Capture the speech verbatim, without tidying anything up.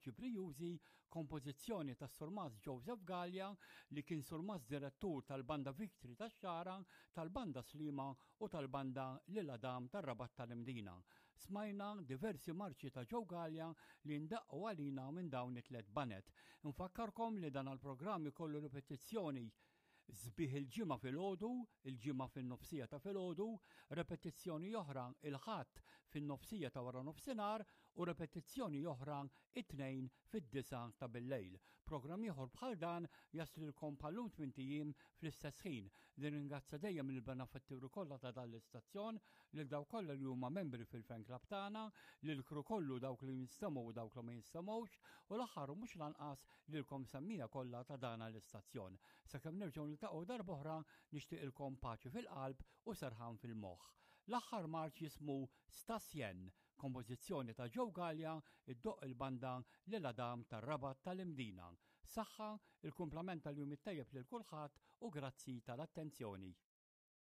Marċi Brijużi, kompożizzjoni ta' Surmast Joseph Galea li kien surmast direttur tal-Banda Victory tax-Xagħra, tal-Banda Sliema u tal-Banda Lil Adam tar-Rabat tal-Imdina. Smajna diversi marċi ta' Joe Galea li ndaqqu għalina minn dawn it-tlet baned. Nfakkarkom li dan il-programm ikollu ripetizzjoni sbieħ il-Ġimgħa filgħodu, il-Ġimgħa fin-nofsija ta' filgħodu, repetizzjoni oħra il-Ħadd fin-nofsija ta' wara nofsinhar u repetizzjoni oħra it-Tnejn fid-disgħa ta' billejl. Programm ieħor bħal dan jaslilkom bħal-lum tmint ijiem fl-istess ħin. Nirringrazzja dejjem il-benefatturi kollha ta' dan l-istazzjon, lil dawk kollha li huma membri fil-fan club tagħna, lil kru kollu, dawk li jinstemgħu u dawk li ma jinstemgħux, u l-aħħar u mhux lanqas lilkom semmiegħa kollha ta' dan l-istazzjon. Sakemm nerġgħu niltaqgħu darb'oħra, nixtieqilkom paċi fil-qalb u serħan fil-moħħ. L-aħħar marċ jismu Stasjen, kompożizzjoni ta' Joe Galea, iddoqq il-banda Lil Adam tar-Rabat tal-Imdina. Saħħa, il-kumplament tal-jum it-tajjeb lil kulħadd u grazzi tal-attenzjoni.